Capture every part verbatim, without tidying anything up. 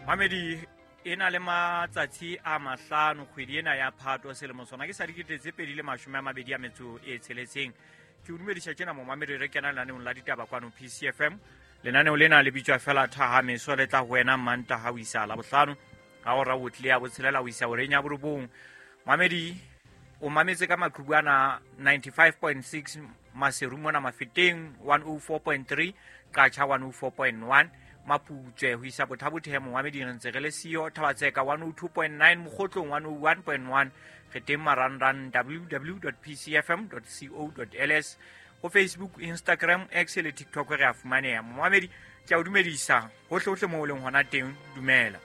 Mamedi e na le matsatsi a mahlano kgwedi ena ya Phato selemo sona ke sa dikete tse pedi le mashome a mabedi a metso e tsheletseng. Ke o dumedisa tjena momamedi re kena lenaneong la ditaba kwano P C F M. Lenaneo lena le bitswa fela Thahameso, le tla ho wena Mantaha ho isa Labohlano ka hora o tle ya botshelela ho isa horeng ya borobong. Mamedi o mametse ka maqhubu ana ninety-five point six Maseru mona Mafeteng, one oh four point three Qacha, one oh four point one Maputswe ho isa Bothabothemo. Momamedi re ntse re le siyo Thabatseka one oh two point nine, Mokgotlong one oh one point one, re teng marangrang w w w dot p c f m dot co dot l s, ho Facebook, Instagram, X le TikTok re a fumaneha. Momamedi ke a o dumedisa hohle hohle moo o leng hona teng, dumela.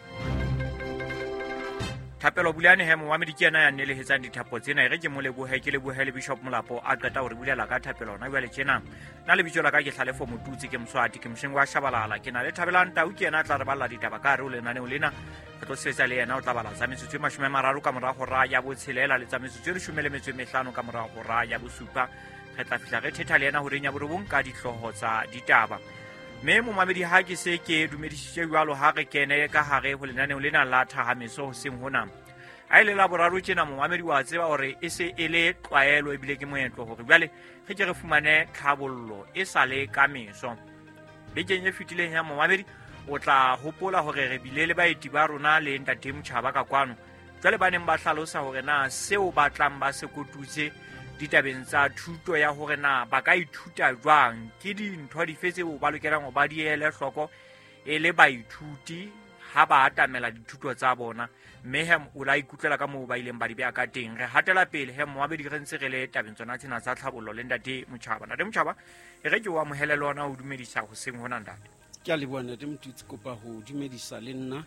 Thapelo Bulane he momamedi ke yena ya nnelehetsang dithapo tsena, e re ke mo lebohe, ke lebohe le Bishop Molapo a qeta ho re bulela ka thapelo hona jwale tjena. Nna lebitso la ka ke Hlalefo Motutsi, ke Moswati, ke mosheng wa Shabalala, ke na le Thabelang Tau, ke yena a tla re balla ditaba ka hare ho lenaneo lena. Re tlo sebetsa le yena, o tla bala tsa metsotso e mashome a mararo ka mora hora ya botshelela le tsa metsotso e leshome le metso e mehlano ka mora hora ya bosupa. Re tla fihla re thetha le yena horeng ya borobong ka dihlooho tsa ditaba. Mme momamedi ha ke se ke dumedisitse jwalo, ha re kene ka hare ho lenaneo lena la Thahameso hoseng hona. Ha e le la boraro tjena momamedi wa tseba hore e se e le tlwaelo ebile ke moetlo hore jwale re ke re fumane tlhabollo e sa le ka meso. Bekeng e fetileng ya momamedi o tla hopola hore re bile le baeti ba rona le ntate Motjhaba ka kwano. Jwale ba neng ba hlalosa hore na seo ba tlang ba se kotutse ditabeng tsa thuto ya hore na ba ka ithuta jwang, ke dintho dife tseo ba lokelang ho ba di ele hloko e le baithuti ha ba atamela dithuto tsa bona. Mme he o la ikutlwela ka moo ba ileng ba di beha ka teng. Re hatela pele he moabedi re ntse re le tabeng tsona tsena tsa tlhabollo le ntate Motjhaba. Ntate Motjhaba, e re ke o amohele le ona o dumedisa hoseng hona ntate. Ke a leboha ntate Motutsi, kopa ho dumedisa le nna,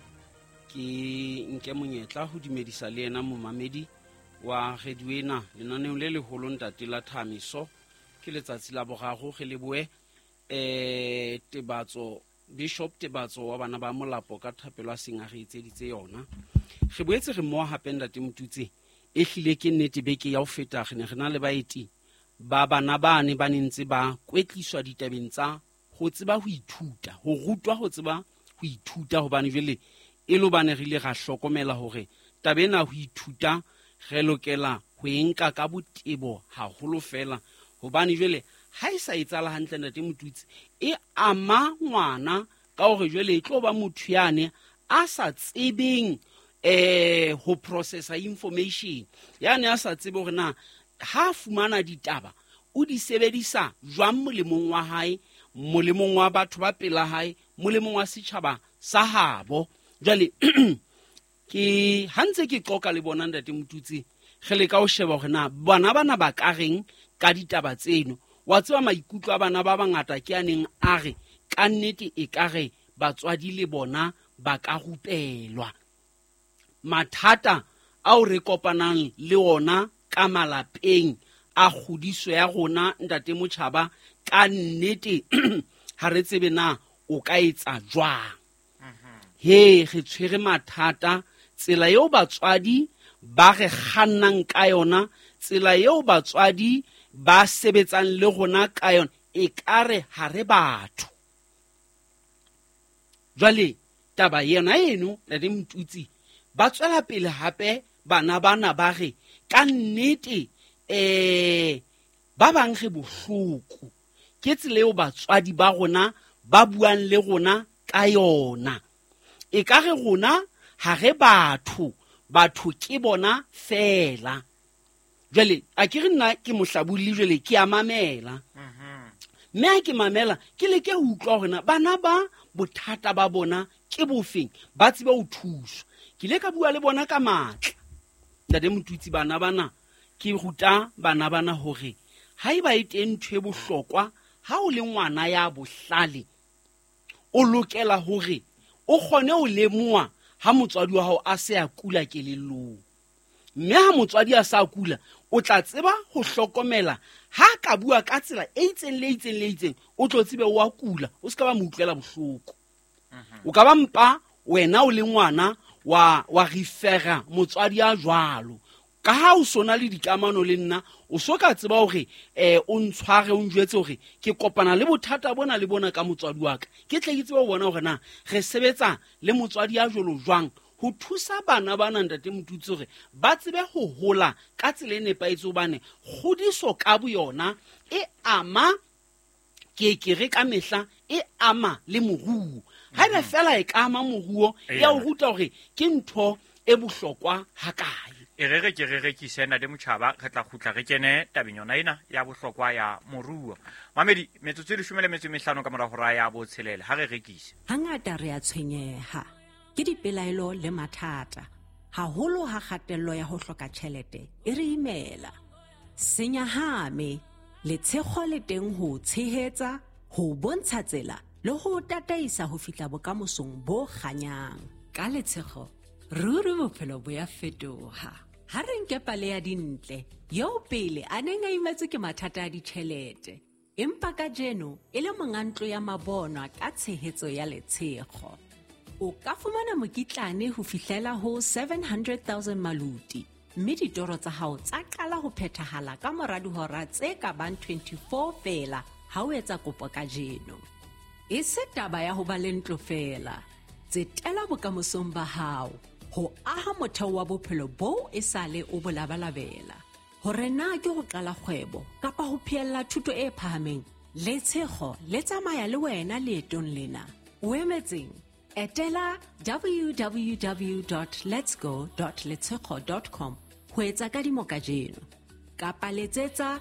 ke nke monyetla ho dumedisa le yena momamedi wa radio ena lenaneong le leholo ntate la Thahameso. Ke letsatsi la boraro re lebohe eh Tebatso, Bishop Tebatso wa bana ba Molapo ka thapelo a seng a re etseditse yona. Re boetse re mmoha hape ntate Motutsi, e hlile ke nnete beke ya ho feta re ne re na le baeti ba bana bane ba ne ntse ba kwetliswa ditabeng tsa ho tseba ho ithuta, ho rutwa ho tseba ho ithuta, hobane jwale e le hobane re ile ra hlokomela hore taba ena ho ithuta re lokela ho e nka ka botebo haholo fela, hobane jwale ha e sa etsahala hantle ntate Motutsi, e ama ngwana ka hore jwale e tlo ba motho yane a sa tsebeng eh ho processa information, yane a sa tsebe hore na ha fumana ditaba o di sebedisa jwang molemong wa hae, molemong wa batho ba pela hae, molemong wa setjhaba sa habo. Jwale ke ha ntse ke qoka le bona ntate Motutsi, re leka ho sheba hore na bana bana ba ka reng ka ditaba tseno. Wa tseba maikutlo a bana ba bangata ke a neng a re ka nnete e ka re batswadi le bona ba ka rupelwa. Mathata ao re kopanang le ona ka malapeng a kgodiso ya rona ntate Motjhaba, ka nnete ha re tsebe na o ka etsa jwang. He re tshwere mathata, tsela eo batswadi ba re kgannang ka yona, tsela eo batswadi ba sebetsang le rona ka yona, e ka re ha re batho. Jwale taba yena eno ntate Motutsi, ba tswela pele hape bana bana ba re ka nnete eh ba bang re bohloko ke tsela eo batswadi ba rona ba buang le rona ka yona. E ka re rona ha re batho, batho ke bona fela. Jwale a ke re nna ke mohlabulli, jwale ke a mamela. Mme ha ke mamela ke leke ho utlwa hore na bana ba bothata ba bona ke bofeng, ba tsebe ho thuswa. Ke ile ka bua le bona ka matla ntate Motutsi, bana bana ke ruta bana bana hore haeba e teng ntho e bohlokwa, ha o le ngwana ya bohlale o lokela hore o kgone ho lemoha ha motswadi wa hao a se a kula kelellong. Mme ha motswadi a sa kula, o tla tseba ho hlokomela ha ka bua ka tsela e itseng le itseng le itseng, o tlo tsebe wa kula, o se ka ba mo utlwela bohloko. O ka ba mpa wena o le ngwana wa wa refera motswadi a jwalo. Ka ha o sona le dikamano le nna o so ka tseba hore eh o ntshware o njwetse hore ke kopana le bothata bona le bona ka motswadi wa ka. Ke tle ke tsebe ho bona hore na re sebetsa le motswadi ya jolo jwang ho thusa bana bana ntate Motutsi hore ba tsebe ho hola ka tsela e nepahetseng, hobane kgodiso ka boyona e ama ke ke re ka mehla e ama le moruo. Haeba fela e ka ama moruo ya o ruta hore ke ntho e bohlokwa hakae. E re re ke re rekise ntate Motjhaba, re tla kgutla re kene tabeng yona ena ya bohlokwa ya moruo. Mamedi, metsotso e leshome le metso e mehlano ka mora hora ya botshelela, ha re rekise. Hangata re a tshwenyeha ke dipelaelo le mathata, haholo ha kgatello ya ho hloka tjhelete e re imela. Senyahame, letshego le teng ho tshehetsa, ho bontsha tsela le ho tataisa ho fihla bokamosong bo kganyang. Ka letshego ruri bophelo bo ya fetoha. Ha re nke pale ya Dintle, eo pele a neng a imetswe ke mathata a ditjhelete, empa kajeno e le monga ntlo ya mabonwa ka tshehetso ya letshego. O ka fumana mokitlane ho fihlela ho seven hundred thousand maluti, mme ditoro tsa hao tsa qala ho phethahala ka mora dihora tse ka bang twenty-four feela ha o etsa kopo kajeno. E se taba ya ho ba le ntlo feela, tsetela bokamosong ba hao ho aha motheo wa bophelo boo e sale o bo labalabela. Hore na ke ho qala kgwebo kapa ho phehella thuto e phahameng, letshego le tsamaya le wena leetong lena. O emetseng? Etela w w w dot letsgo dot letshego dot com ho etsa kadimo kajeno, kapa letsetsa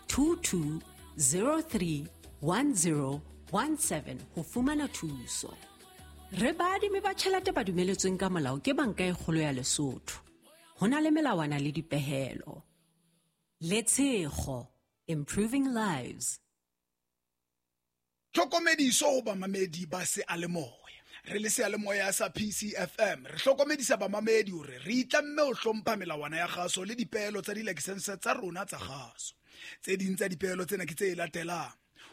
two two zero three one zero one seven ho fumana thuso. Re baadimi ba tjhelete ba dumeletsweng ka molao ke Banka e Kgolo ya Lesotho. Ho na le melawana le dipehelo. Letshego, improving lives. Tlhokomediso ho bamamedi ba seyalemoya. Re le seyalemoya sa P C F M re hlokomedisa bamamedi hore re itlamme ho hlompha melawana ya kgaso le dipehelo tsa dilakesense tsa rona tsa kgaso. Tse ding tsa dipehelo tsena ke tse latelang: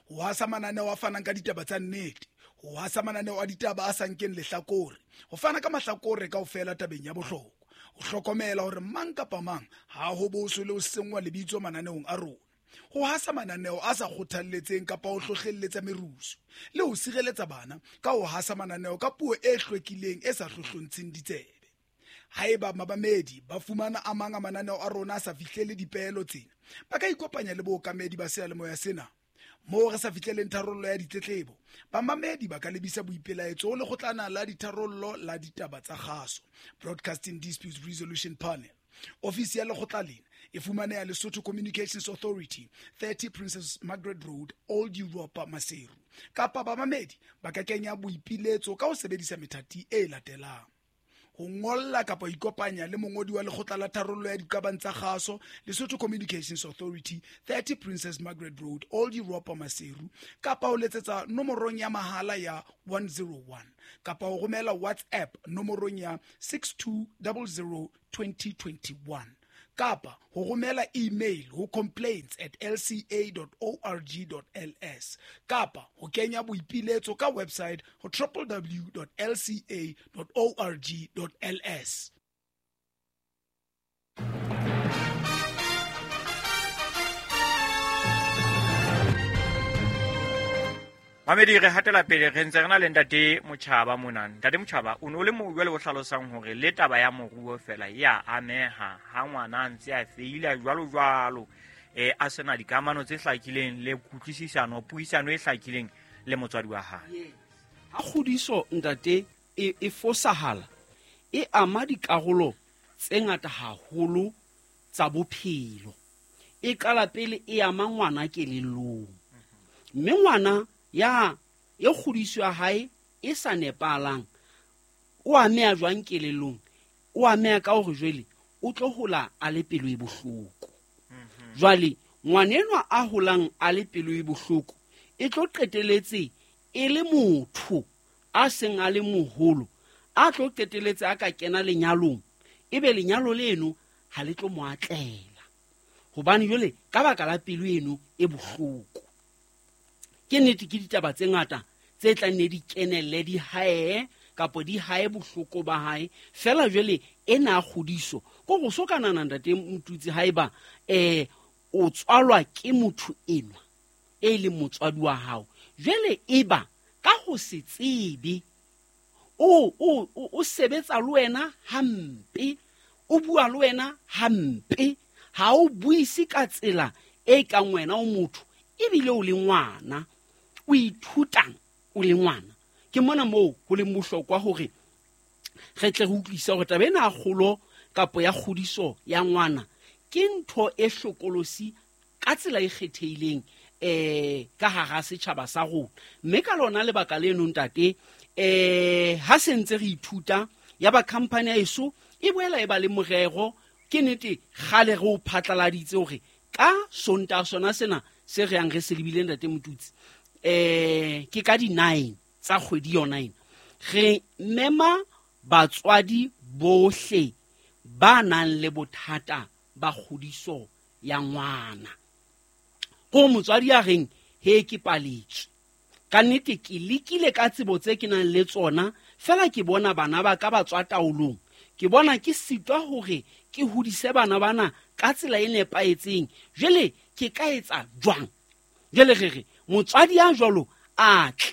ho hasa mananeo a fanang ka ditaba tsa nnete, ho hasa mananeo a ditaba a sa nkeng lehlakore, ho fana ka mahlakore kaofela tabeng ya bohlokwa, ho hlokomela hore mang kapa mang ha ho boswe le ho senngwa lebitso mananeong a rona, ho hasa mananeo a sa kgothalletseng kapa ho hlohlelletsa merusu, le ho sireletsa bana ka ho hasa mananeo ka puo e hlwekileng e sa hlohlontsheng ditsebe. Haeba mabamedi ba fumana a mang a mananeo a rona a sa fihlele dipehelo tsena, ba ka ikopanya le bookamedi ba seyalemoya sena. Moo re sa fihleleng tharollo ya ditletlebo, bamamedi ba ka lebisa boipelaetso ho lekgotlana la ditharollo la ditaba tsa kgaso, Broadcasting Disputes Resolution Panel. Ofisi ya lekgotla lena e fumaneha Lesotho Communications Authority, thirty Princess Margaret Road, Old Europa, Maseru. Kapa bamamedi ba ka kenya boipiletso ka ho sebedisa methati e latelang: ho ngolla kapa ikopanya le mongodi wa lekgotla la tharollo ya diqabang tsa kgaso, Lesotho Communications Authority, thirty Princess Margaret Road, Old Europa, Maseru, kapa ho letsetsa nomorong ya mahala ya one zero one, kapa ho romela WhatsApp nomorong ya six two zero zero twenty twenty-one, kapa ho romela email ho complaints at l c a dot org dot l s, kapa ho kenya boipiletso ka website ho w w w dot l c a dot org dot l s. Mamedi, re hatela pele re ntse re na le ntate Motjhaba mona. Ntate Motjhaba, o no le mo jwale o hlalosang hore le taba ya moruo fela ya ameha ha ngwana a ntse a feila jwalo jwalo, eh a sena dikamano tse hlakileng le kutlwisisano, puisano e hlakileng le motswadi wa hae. Ha kgodiso ntate e, e fosahala, e ama dikarolo tse ngata haholo tsa bophelo. E qala pele e ama ngwana kelellong, mme ngwana ya e kgodiso ya hae e sa nepalang o ameha jwang kelellong? O ameha ka hore jwale o tlo hola a le pelo e bohloko. Jwale ngwanenwa a holang a le pelo e bohloko e tlo qeteletse e le motho a seng a le moholo, a tlo qeteletse a ka kena lenyalong, ebe lenyalo leno ha le tlo mo atlela, hobane jwale ka baka la pelo eno e bohloko. Ke nnete ke ditaba tse ngata tse tlang ne di kenelle di hae kapa di hae bohloko ba hae fela. Jwale ena kgodiso Ko go so kana ntate Motutsi haeba eh o tswalwa ke motho enwa e leng motswadi wa hao, jwale eba ka ho se tsebe o o o sebetsa le wena hampe, o bua le wena hampe, ha o buise ka tsela e kang wena o motho ebile o le ngwana, o ithutang o le ngwana. Ke mona moo ho leng bohlokwa hore re tle re utlwisise hore taba ena ya kgolo kapa ya kgodiso ya ngwana ke ntho e hlokolosi ka tsela e kgethehileng eh ka hara setjhaba sa rona. Mme ka lona lebaka leno ntate, eh ha se ntse re ithuta ya ba company ya eso e boela e ba le morero. Ke nnete kgale re o phatlaladitse hore ka Sontaha sona sena se re yang re se lebile ntate Motutsi, eh ke ka di nine tsa kgwedi yona ena, re mema batswadi bohle ba nang le bothata ba kgodiso ya ngwana. Ko motswadi ya reng he ke paletswe, ka nnete ke lekile ka tsebo tse ke nang le tsona, fela ke bona bana ba ka ba tswa taolong, ke bona ke sitwa hore ke hodise bana bana ka tsela e nepahetseng, jwale ke ka etsa jwang? Jwale re re motswadi ya jwalo a tle,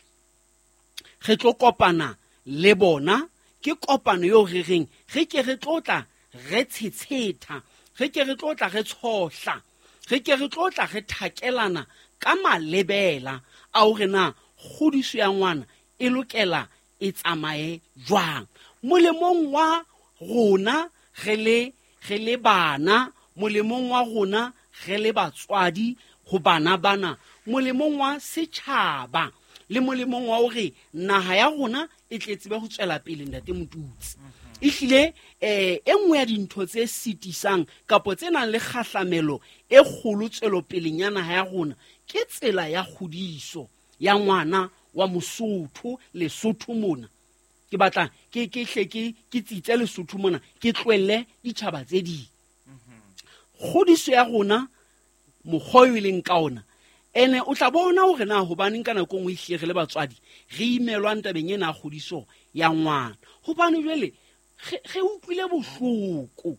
re tlo kopana le bona. Ke kopano eo re reng re ke re tlo tla re tshetsheta, re ke re tlo tla re tshohla, re ke re tlo tla re thakelana ka malebela a hore na kgodiso ya ngwana e lokela e tsamaye jwang molemong wa rona re le re le bana, molemong wa rona re le batswadi ho bana bana, molemong wa setjhaba le molemong wa hore naha ya rona e tle tsebe ho tswela pele ntate Motutsi. Ehlile eh e nngwe ya dintho tse sitisang kapa tse nang le kgahlamelo e kgolo tswelopeleng ya naha ya rona ke tsela ya kgodiso ya ngwana wa Mosotho Lesotho mona. Ke batla ke ke hle ke ke tsitse Lesotho mona, ke tlohelle ditjhaba tse ding. Kgodiso ya rona mokgwa o e leng ka ona, ene o tla bona hore na hobaneng ka nako e nngwe ehlile re le batswadi re imelwang tabeng ena ya kgodiso ya ngwana. Hobane jwale re utlwile bohloko,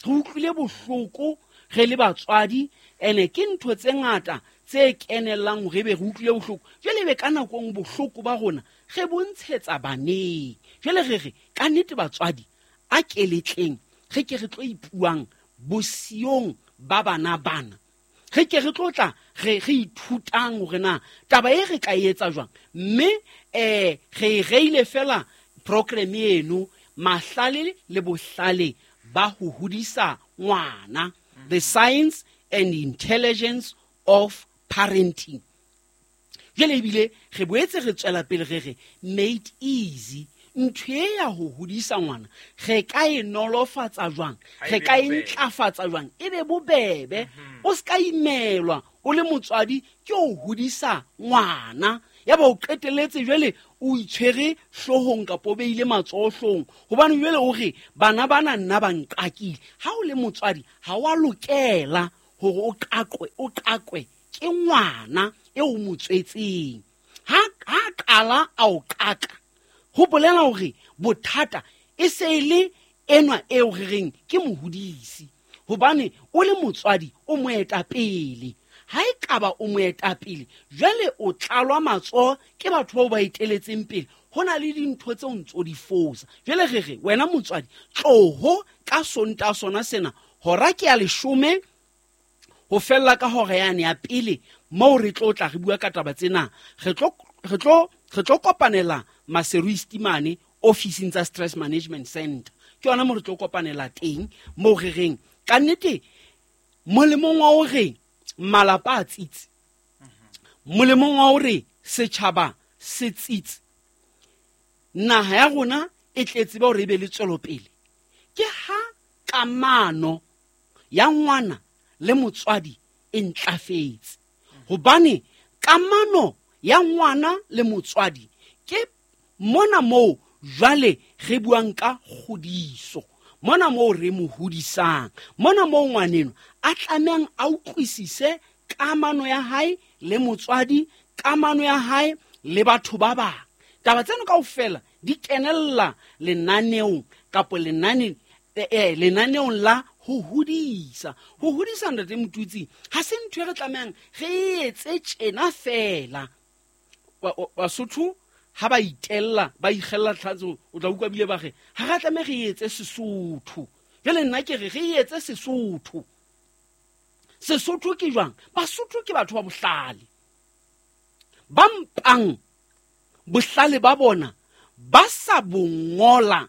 re utlwile bohloko re le batswadi, ene ke ntho tse ngata tse kenellang hore ebe re utlwile bohloko. Jwale ebe ka nako e nngwe bohloko ba rona re bontshetsa baneng. Jwale re re ka nnete batswadi a keletleng re ke re tlo ipuang bosiyong ba bana bana, re ke re tlo tla re re ithutang hore na taba e re ka e etsa jwang. Mme eh re e reile fela program eno mahlale le bohlale ba ho hodisa ngwana, the science and intelligence of parenting. Jwale ebile re boetse re tswela pele re re made easy. Ntho e ya ho hodisa ngwana re ka e nolofatsa jwang, re ka e ntlafatsa jwang, e be bobebe. O ska imelwa o le motswadi ke o hodisa ngwana, ya ba o qetelletse jwale o itshwere hloohong kapa o beile matsoho hloohong, hobane jwale o re bana bana nna ba nqakile. Ha o le motswadi ha wa lokela hore o qaqwe, o qaqwe ke ngwana eo o mo tswetseng. Ha ha qala a o qaka, ho bolela hore bothata e se e le enwa eo re reng ke mohodisi, hobane o le motswadi o moetapele. Ha e kaba o moetapele, jwale o tlalwa matsoho ke batho bao ba eteletseng pele. Ho na le dintho tseo ntso di fosa. Jwale re re wena motswadi tloho ka Sontaha sona sena hora ke ya leshome ho fella ka hora yane ya pele moo re tlo tla re bua ka taba tsena. Re tlo re tlo re tlo kopanela Maseru East mane ofising tsa Stress Management Center. Ke yona moo re tlo kopanela teng, moo re reng ka nnete molemong wa hore malapa a tsitse, molemong wa hore setjhaba se tsitse, naha ya rona e tle tsebe hore e be le tswelopele, ke ha kamano ya ngwana le motswadi e ntlafetse. Hobane kamano ya ngwana le motswadi ke mona moo jwale re buang ka kgodiso, mona moo re mo hodisang, mona moo ngwaneno a tlamehang a utlwisise kamano ya hae le motswadi, kamano ya hae le batho ba bang. Taba tseno kaofela di kenella lenaneong kapa lenaneng eh lenaneong la ho hodisa. Ho hodisa ntate Motutsi ha se ntho e re tlamehang re etse tjena fela. Basotho ha ba itella ba ikgella tlhatso, o tla utlwa bile ba re ha re tlameha re etse Sesotho. Jwale nna ke re re etse Sesotho. Sesotho ke jwang? Basotho ke batho ba bohlale, ba mpang bohlale ba bona ba sa bongola,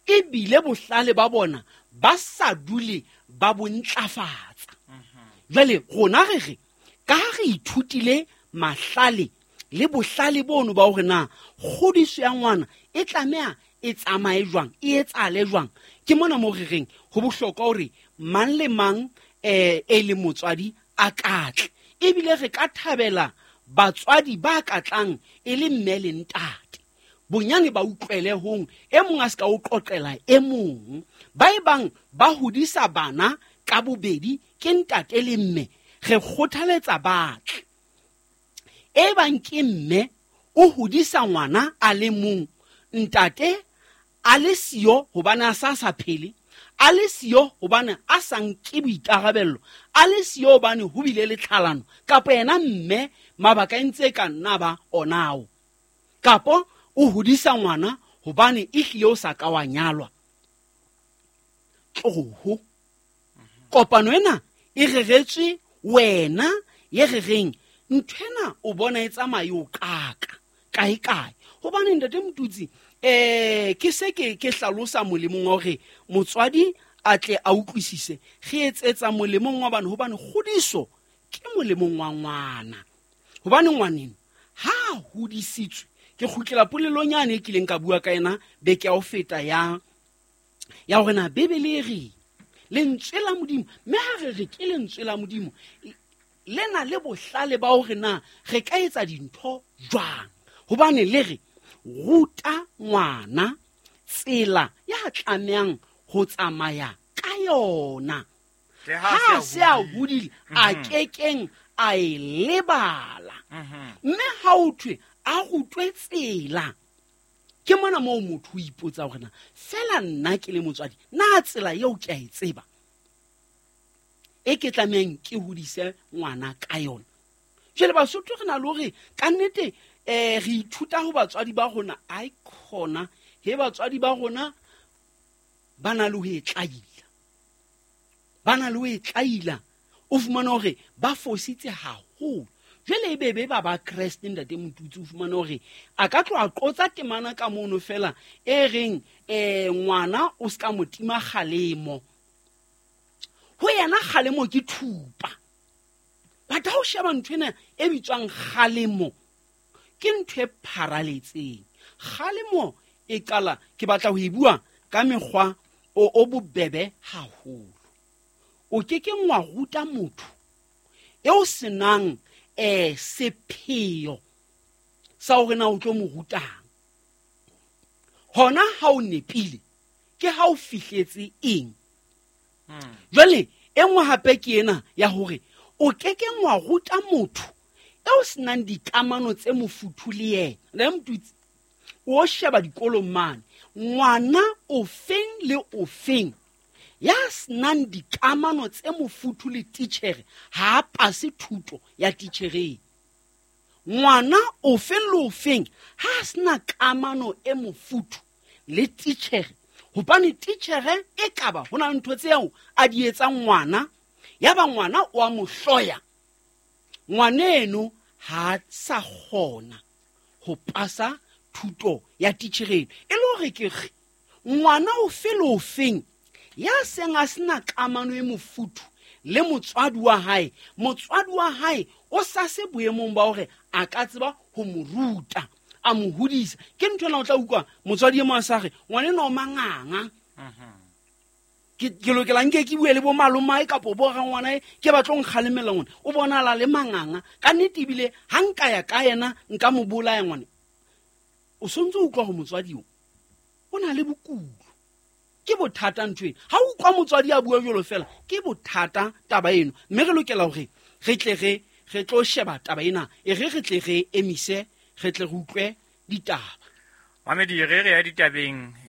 ebile bohlale ba bona ba sa dule ba bontlafatsa. Jwale rona re re ka ha re ithutile mahlale le bohlale bono ba hore na kgodiso ya ngwana e tlameha e tsamaye jwang, e etsale jwang, ke mona mo re reng ho bohlokwa hore mang le mang eh e le motswadi a katle. Ebile re ka thabela batswadi ba katlang e le mme le ntate, bonyane ba utlwele hong, e mong a se ka o qoqela e mong. Ba e bang ba hodisa bana ka bobedi ke ntate le mme, re kgothaletsa batle. E bang ke mme o hodisa ngwana a le mong, ntate a le siyo hobane a sa sa phele, a le siyo hobane a sa nke boikarabello, a le siyo hobane ho bile le tlhalano, kapa yena mme mabaka e ntse ka nna ba onao, kapo o hodisa ngwana hobane ehlile o sa ka wa nyalwa. Tloho kopano ena e reretswe wena ye re reng nthwena o bona e tsamaye o kaka kae kae. Hobane ntate Motutsi eh ke se ke ke hlalosa molemong wa hore motswadi a tle a utlwisise, re etsetsa molemong wa bana, hobane kgodiso ke molemong wa ngwana. Hobane ngwaneno ha hodisitswe, ke kgutlela polelong yane e kileng ka bua ka yena beke ya ho feta ya ya hore na Bibele e re lentswe la Modimo, mme ha re re ke lentswe la Modimo le na le bohlale ba hore na re ka etsa dintho jwang. Hobane le re ruta ngwana tsela ya tlamehang ho tsamaya ka yona, ha se a hodile a kekeng a e lebala. Mme ha o thwe a rutwe tsela, ke mona moo motho o ipotsa hore na fela nna ke le motswadi na tsela eo ke a e tseba e ke tlamehang ke hodise ngwana ka yona. Jwale Basotho re na le hore ka nnete eh re ithuta ho batswadi ba rona, ai khona he batswadi ba rona ba na le ho e tlaila, ba na le ho e tlaila. O fumana hore ba fositse haholo. Jwale e bebe ba ba Kreste ntate Motutsi, o fumana hore a ka tloha qotsa temana ka mono fela e reng eh ngwana o ska mo tima kgalemo, ho yena kgalemo ke thupa. Batho ha o sheba ntho ena e bitswang kgalemo ke ntho e pharaletseng. Kgalemo e qala, ke batla ho e bua ka mekgwa o o bobebe haholo. O ke ke ngwa ruta motho eo senang eh sepheo sa hore na o tlo mo rutang. Hona ha o nepile ke ha o fihletse eng. Jwale e nngwe hape ke ena ya hore o ke ke ngwa ruta motho eo senang dikamano tse mofuthu le yena. Le Motutsi o sheba dikolong mane, ngwana o feng le o feng ya senang dikamano tse mofuthu le titjhere ha a pase thuto ya titjhereng. Ngwana o feng le o feng ha a sena kamano e mofuthu le titjhere, hobane titjhere e kaba ho na le ntho tseo a di etsang ngwana, ya ba ngwana o a mo hloya, ngwaneno ha sa kgona ho pasa thuto ya titjhereng. E le hore ke re ngwana o fe le o feng ya seng a sena kamano e mofuthu le motswadi wa hae, motswadi wa hae o sa se boemong ba hore a ka tseba ho mo ruta, a mo hodisa. Ke ntho ena o tla utlwa motswadi e mong a sa re ngwaneno o manganga, ke ke lokela nke ke bue le bo malomae kapo bo rangwanae ke batlo nkgalemela ngwana, o bonala le manganga ka nnete, ebile ha nka ya ka yena nka mo bolaya ngwana. O sontse o utlwa ho motswadi o o na le bokulo, ke bothata ntho ena. Ha o utlwa motswadi a bua jwalo fela ke bothata taba eno, mme re lokela hore re tle re re tlo sheba taba ena, e re re tle re emise, re tle re utlwe ditaba. Mamedi, re re ya ditabeng.